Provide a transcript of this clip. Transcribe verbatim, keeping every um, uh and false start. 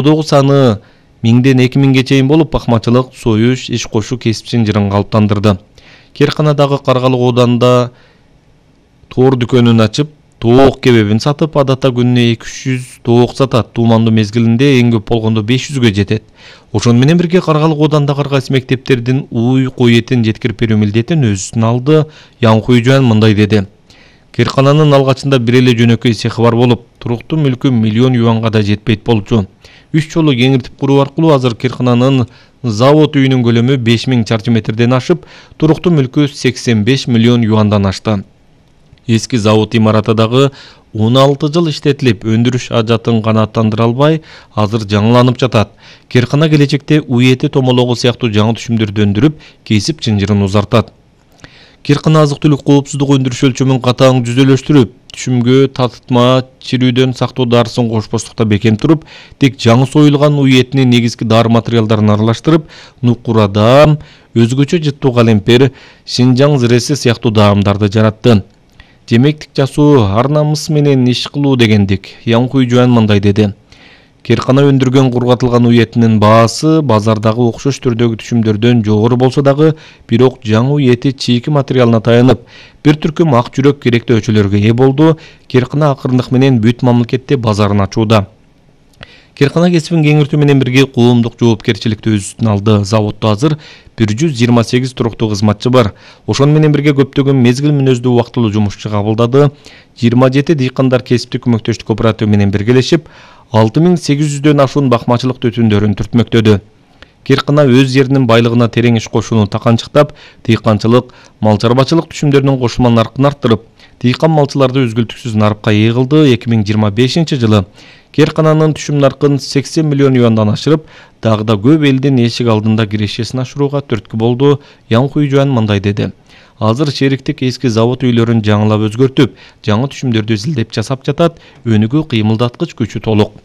Кодогу саны миңден эки миңге чейин болуп, бакмачылык, союш, иш кошуу кесипчин жырын калыптандырды. Керканадагы Каргалык ооданында тоор дүкөнүн ачып, тоок кебебин сатып, адатта күнүнө эки жүз тоок сатат. Туумандуу мезгилинде эң көп болгондо беш жүзгө жетет. Ошону менен бирге Каргалык оодандагы ар кайсы мектептердин уй, кой этин жеткирип берүү милдетин өз үстүнө алды. Янкуй Жуан мындай деди: Керкананын алгачында бир эле жөнөкөй цехи бар болуп, туруктуу мүлкү миллион юанга да жетпейт болчу. Үч жолу кеңиртип куруу аркылуу азыр Керкананын завод үйүнүн көлөмү беш миң чарчы метрден ашып, туруктуу мүлкү сексен беш миллион юандан ашты. Эски завод имараты дагы он алты жыл иштетилип, өндүрүш ажатын канааттандыра албай, азыр жаңыланып жатат. Керкана келечекте уй эти, томологу сыяктуу жаңы түшүмдөрдү өндүрүп, кесип чынжырын узартат. Керкана азык-түлүк коопсуздук өндүрүш өлчөмүн катаң жүзөлөштүрүп, түшүмгө татытма, чирүүдөн сактоо дарысын кошпостукта бекем туруп, тек жаңы союлган уй этинин негизги дары материалдарын аралаштырып, нукура даам, өзгөчө жыттуу калемпер, Шинжаң зиреси сыяктуу даамдарды жаратты. Жемектик жасоо, ар намыс менен иш кылуу дегендик. Янкуй Жуан мындай деди: Керкана өндүргөн кургатылган уй этинин баасы базардагы окшош түрдөгү түшүмдөрдөн жогору болсо дагы, бирок жаңы уй эти чийки материалына таянып, бир түркүм ак жүрөк керектүү өчөлөргө ээ болду. Керкана акырындык менен бүт мамлекетте базарын ачууда. Керкана кесибин кеңиртүү менен бирге коомдук жоопкерчиликти өз үстүнө алды. Заводдо азыр бир жүз жыйырма сегиз туруктуу кызматчы бар. Ошону менен бирге көптөгөн мезгил мүнөздүү убактылуу жумушчу кабылдады. жыйырма жети дыйкандар кесиптик көмөктөштүк кооперативы менен биргелешип, алты миң сегиз жүздөн ашуун бакмачылык түтүндөрүн түртмөктөдү. Керкана өз жеринин байлыгына терең иш кошууну таканчыктап, дыйканчылык, мал чарбачылык түшүмдөрүнүн кошулма наркын арттырып, дыйкан малчыларды үзгүлтүксүз нарыкка ээ кылды. эки миң жыйырма бешинчи жылы Керкананын түшүм наркын сексен миллион юандан ашырып, дагы да көп элдин эшик алдында кирешесин ашырууга түрткү болду. Янкуй Жуан мындай деди: Азыр шериктик эски завод үйлөрүн жаңылап өзгөртүп, жаңы түшүмдөрдү изилдеп жасап жатат, өнүгүү кыймылдаткыч күчү толук.